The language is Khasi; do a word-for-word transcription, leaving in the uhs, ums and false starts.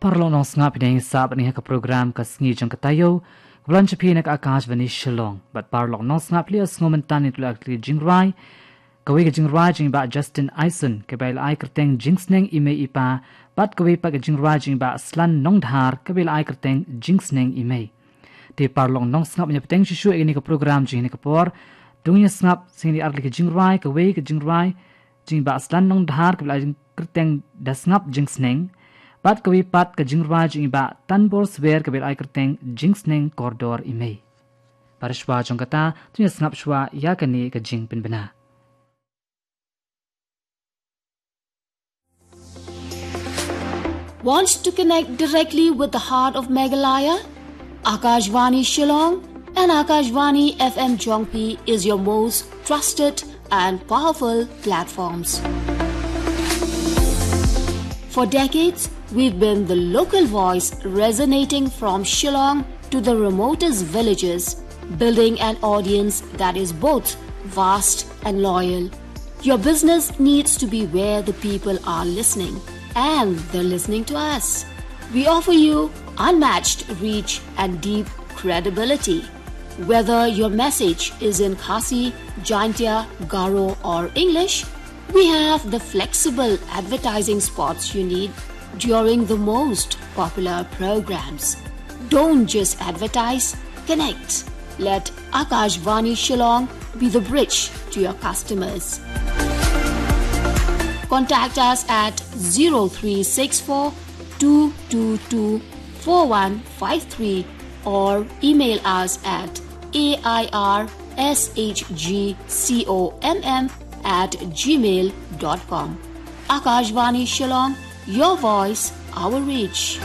Paralok nongsngap, phi dang ïa sah bad ngi ha ka program Ka Sngi Jong Ka Taïew, ka ba wan sha phi na ka Akashvani Shillong. Bad paralok nongsngap, phi la ïohsngew mynta ïa ka jingrwai, kawei ka jingrwai jong i Bah Justin Aison, ka ba la ai kyrteng Jingsneng i Mei i Pa, bad kawei pat ka jingrwai jong i Bah Slan Nongdhar, ka ba la ai kyrteng Jingsneng i Mei. Te paralok nongsngap, ngin ïa bteng shuh shuh ïa kane ka program jong kane ka por. To ngin ïa sngap sha kine ar tylli ki jingrwai, kawei ka jingrwai jong i Bah Slan Nongdhar, ka ba la ai kyrteng Da Sngap Jingsneng, bad kawei pat ka jingrwai jong i Bah Tanbor Swer, ka ba la ai kyrteng Jingsneng Kordor i Mei. Bad shuwa jong kata, to ngin ïa sngap shuwa ïa kane ka jingpynbna. Want to connect directly with the heart of Meghalaya? Akashvani Shillong and Akashvani F M Jongphi is your most trusted and powerful platforms. For decades, we've been the local voice, resonating from Shillong to the remotest villages, building an audience that is both vast and loyal. Your business needs to be where the people are listening, and they're listening to us. We offer you unmatched reach and deep credibility. Whether your message is in Khasi, Jaintia, Garo, or English, we have the flexible advertising spots you need during the most popular programs. Don't just advertise, connect. Let Akashvani Shillong be the bridge to your customers. Contact us at zero three six four two two two four one five three or email us at A I R S H G C O M M at gmail dot com. Akashvani Shillong, your voice, our reach.